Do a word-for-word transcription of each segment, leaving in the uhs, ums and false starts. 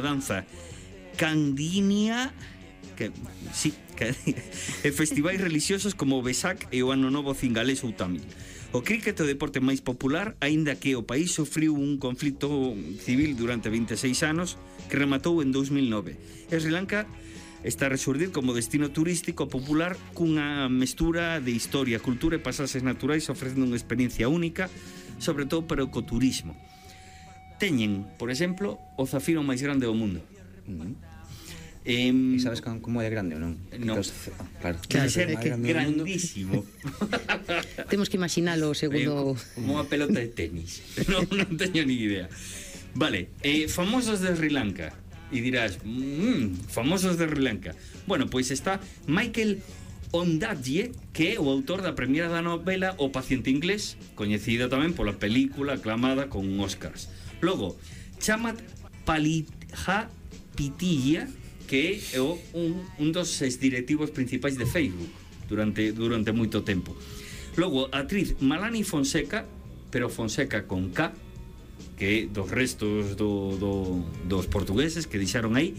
a danza Candinia, que, sí, que, e festivais religiosos como o Vesak e o Ano Novo Cingalés ou Tamil. O críquet é o deporte máis popular, aínda que o país sufriu un conflito civil durante vinte e seis anos que rematou en dous mil nove. E Sri Lanka está a resurdir como destino turístico popular cunha mestura de historia, cultura e pasaxes naturais ofrecendo unha experiencia única, sobre todo para o ecoturismo. Teñen, por exemplo, o zafiro máis grande do mundo. Uh-huh. Eh, e sabes como é grande ou non? Non. Ah, claro, Debe ser que grandísimo. Temos que imaginalo segundo... Como unha pelota de tenis. Non, non teño ni idea. Vale, eh, famosos de Sri Lanka. E dirás, mmm, famosos de Sri Lanka. Bueno, pois está Michael Ondaatje, que é o autor da premiera da novela O paciente inglés, coñecida tamén pola película aclamada con Oscars. Logo, Chamat Palihapitiya, que é o, un, un dos exdirectivos principais de Facebook durante, durante moito tempo. Logo, a actriz Malani Fonseca, pero Fonseca con K, que é dos restos do, do, dos portugueses que deixaron aí,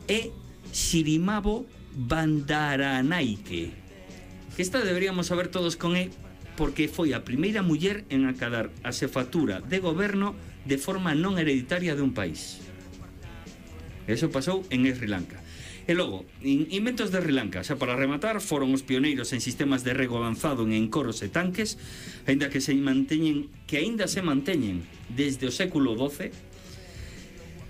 e Sirimavo Bandaranaike, que esta deberíamos saber todos con E, porque foi a primeira muller en acadar a xefatura de goberno de forma non hereditaria de un país. Eso pasou en Sri Lanka. E logo, inventos de Sri Lanka, xa para rematar, foron os pioneiros en sistemas de rego avanzado en encoros e tanques, aínda que se manteñen, que aínda se manteñen desde o século doce.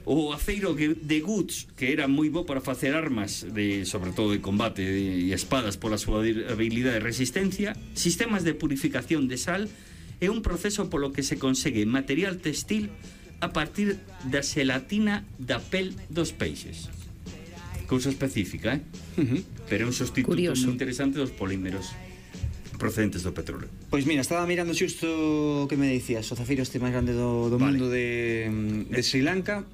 O aceiro de Guts, que era moi bo para facer armas, de, sobre todo de combate e espadas pola súa habilidade e resistencia. Sistemas de purificación de sal é un proceso polo que se consegue material textil a partir da xelatina da pel dos peixes. Cousa específica, eh? Uh-huh. Pero é un sustituto Curioso. moi interesante dos polímeros procedentes do petróleo. Pois mira, estaba mirando xusto o que me dicías, o zafiro este máis grande do, do Vale. mundo de, de Sri Lanka,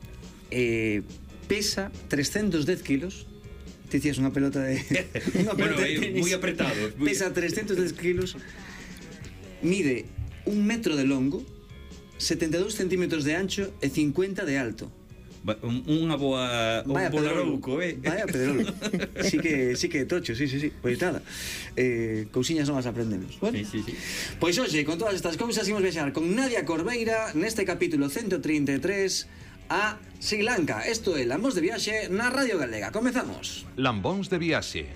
eh, pesa trescentos dez kilos. Te dicías unha pelota de unha Bueno, pelota de é tenis. moi apretado. Muy... Pesa trescentos dez kilos. Mide un metro de longo, setenta e dous centímetros de ancho e cincuenta de alto. Unha boa... Vaya un pedrolo, eh? vaya pedrolo. Sí que, sí que tocho, sí, sí, sí. Pois nada, eh, cousiñas novas aprendemos. Bueno, Sí, sí, sí. pois hoxe, con todas estas cousas, imos viaxar con Nadia Corbeira neste capítulo ciento trinta e tres a Sri Lanka. Isto é Lambóns de Viaxe na Radio Galega. Comezamos. Lambóns de Viaxe.